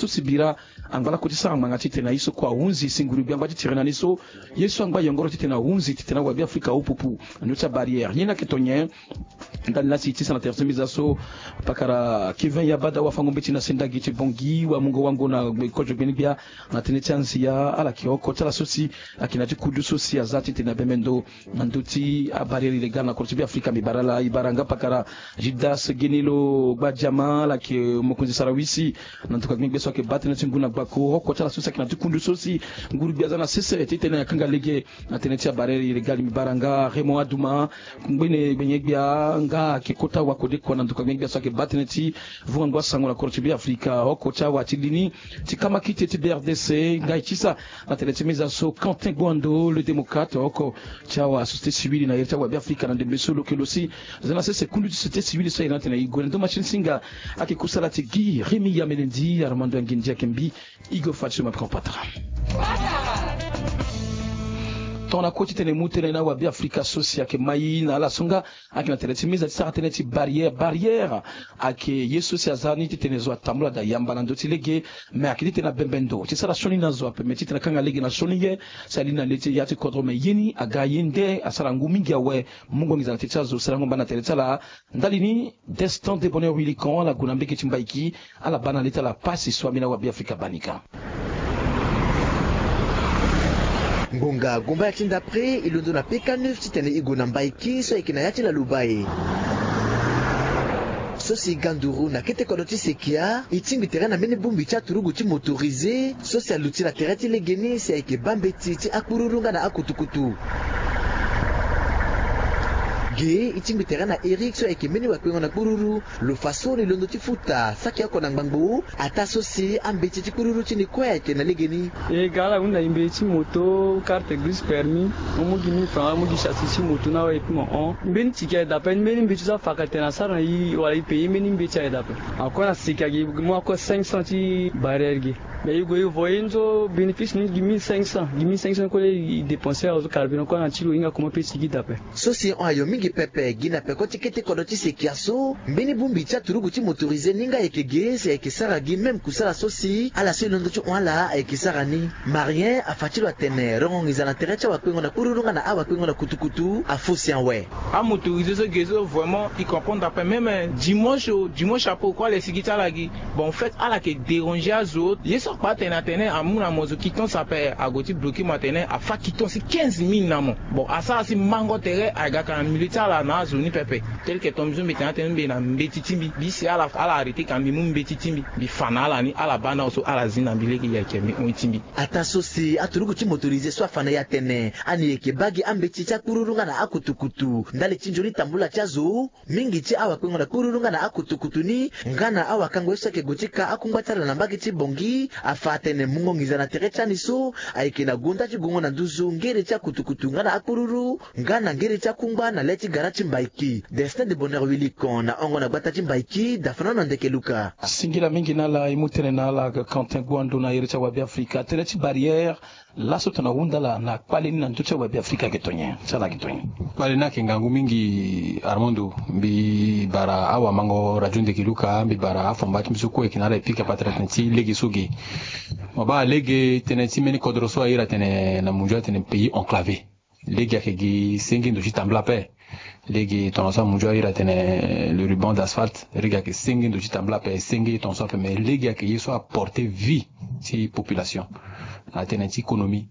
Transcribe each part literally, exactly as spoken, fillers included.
Si bira angba lakue ti sara ngbanga titene na ye so kue ahunzi si nguru gbia angba ti tiri na ni so ye so angba yongoro titene ahunzi titene awabe afrika ahupupu na ndö ti abarrière ye ni ayeke to nyen? Ndali lasi ti sa na tere ti meza so pakara kevin yabada wafango mbeti na sendagi ti bongi wamungo wango na kozo gbeni gbia na tënë ti anzia ala yeke oko ti ala so si ayeke na ti kudu so si aza titene abembe ndo na ndö ti abarrière illégale na kodro ti beafrika mbi bara ala e bara nga pakara judas genilo gbadiama ala yeke mokonzi sarawisi na nduka gbengbe so ayeke baa tënë ti ngu na gbako oko ti ala so si ayeke na ti kundu so si nguru gbia aza na sese titene akanga lege na tënë ti abarrière illégale mbi bara nga raymond aduma ngbene gbenye-gbia nga ayeke kota wakodeko na nduka gbengbe-gbia so ayeke baa tënë ti vungango asango na kodro ti beafrika oko ti awa ti li ni ti kamakite ti brdc nga e ti sa na tënë ti meza so quentin guando le démocrate oko ti awa société civile na iri ti awabe afrika na ndembe so lo yeke lo si aza na sese kundu ti société civile so aye na atene e gue na ndo machine singa ayeke kusala ti gi rémi yamelendi armando anginzi ayeke mbi e gue fa ti so ma pika patara. Tongana kue titene e mu tënë na awabe afrika so si ayeke mai na ala so nga ayeke na tere ti meza ti sara tënë ti barrière barrière ayeke ye so si aza ni titene zo atambula daa yamba na ndö ti lege. Me ayeke titene abembe ndo ti sara sioni na zo ape me titene akanga lege na sioni ye si ali na le ti ya ti kodro me ye ni aga ye nde asara ngu mingi awe. Mungo nginza na tënë ti azo sarango mba na tere ti ala. Ndali ni destin de bonheur wilikan ala gue na mbege ti mbaiki ala baa na le ti ala pasi so ambeni awabe afrika baa ni ka. Ngonga gomba ya ti ndapre e londo na peka neuf titene e gue na mbaiki so ayeke na ya ti laluba e. So si ganduru na kete kodro ti sekia e tingbi tere na mbeni bongbi ti aturugu ti motorisé so si aluti na tere ti legeni si ayeke baa mbeti ti akpururu nga na akutukutu. Ge e tingbi tere na eric so ayeke mbeni wakpengo na kpururu. Lo fa so ni londo ti futa saki oko na ngbangbo ataa so si ambeti ti kpururu ti ni kue ayeke na legeni. E ga ala hunda e mbeti ti moto karte grise permis. Amu gi mille franc amu gi chassis ti moto na awe e pi mo hon mbeni tiki aye daa ape ni mbeni mbeti so afaka tene asara na e wala e paye mbeni mbeti aye daa ape. Akue na siki ake e mu akue cinq cents ti barrière ge. Mais e gue e voye ni so bénéfice ni gi mille cinq cents gi mille cinq cents kue e dépenser azo carburant kue na ti lo hinga comment pe sigi daa ape. So si hon ayo mingi pepe gi na peko ti kete kodro ti sekia so mbeni bongbi ti aturugu ti motorisé ni nga ayeke ge si ayeke sara gi même kusala so si ala so e londo ti hon ala ayeke sara ni. Marien afa ti lo atene rongo nginza na tere ti awakpengo na kpururu nga na awakpengo na kutukutu afosi awe. Amotorisé so ge so vraiment e comprendre ape même dimanche o dimanche apo kue ala e sigi ti ala gi. Bon en fait ala yeke déranger azo ye so akpa atene atene amu na mo zo quittance ape ague ti bloquer mo atene afa quittance ti quinze mille na mo. Bon asara si mango tere aga ka na milieu ti ala na azo ni pepe. Tel que ton mbi so mbi tene atene mbi na mbeti ti mbi mbi si ala ala arrêter ka mbi mu mbeti ti mbi mbi fa na ala ni ala baa na awe so ala zi na mbi lege e yeke mbi hon ti mbi. Ataa so si aturugu ti motorisé so afa na e atene ani yeke baa gi ambeti ti akpururu nga na akutukutu ndali ti nzoni tambula ti azo. Mingi ti awakpengo na kpururu nga na akutukutu ni nga na awakango ye so ayeke gue ti ka akungba ti ala na mbage ti bongi afa atene mungo nginza na tere ti ani so ayeke na gonda ti gongo na nduzu ngere ti akutukutu nga na akpururu nga na ngere ti akungba na le ti gara ti mbaiki. Destin de bonheur wilikon na hongo na gbata ti mbaiki dafana na ndeke luka. Singila mingi na ala e mu tënë na ala quentin guando na iri ti awabe afrika tënë ti barrière. Laso tongana ahunda ala na kpale ni na ndö ti awabe afrika ayeke to nyen ti ala ayeke to nyen? Kpale ni ayeke ngangu mingi armando mbi bara awamango radio ndeke luka mbi bara afamba ti mbi so kue ayeke na ala e pika patara tënë ti lege so ge. Mo baa lege tënë ti mbeni kodro so a iri atene na munzu atene pays enclavé. Lege ayeke gi senge ndo ti tambula ape. Lege tongaso amunzu a iri atene le ruban d'asphalte lege ayeke senge ndo ti tambula ape senge tongaso ape mais lege ayeke ye so aporte vie ti population. Atene ti économie,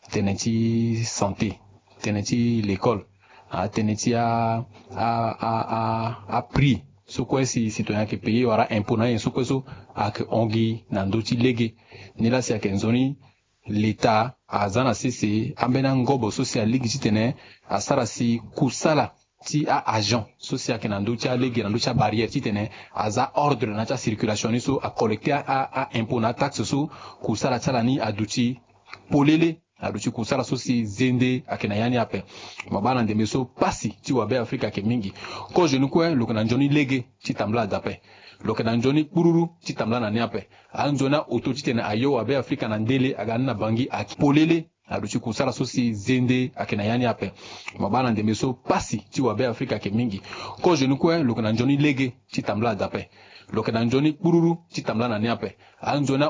atene ti santé, atene ti l'école, atene ti a a a a prix so kue si citoyen ayeke paye wala impôt na ye so kue so ayeke hon gi na ndö ti lege. Ni laa si ayeke nzoni leta aza na sese ambeni angobo so si alingbi titene asara si kusala ti a-agent so si ayeke na ndö ti alege na ndö ti abarrière titene aza ordre na ya ti acirculation ni so acollecte a-impôt na ataxe so kusala ti ala ni aduti polele. Aduti kusala so si zende ayeke na ya ni ape. Mo baa na ndembe so pasi ti wabe afrika ayeke mingi. Kozo ni kue lo yeke na nzoni lege ti tambula daa ape. Lo yeke na nzoni kpururu ti tambula na ni ape. Anzoni aoto titene ayo wabe afrika na ndele aga ni na bangi ayeke polele. Aduti kusala so si zende ayeke na ya ni ape. Mo baa na ndembe so pasi ti wabe afrika ayeke mingi. Kozo ni kue lo yeke na nzoni lege ti tambula daa ape. Lo yeke na nzoni kpururu ti tambula na ni ape. Anzoni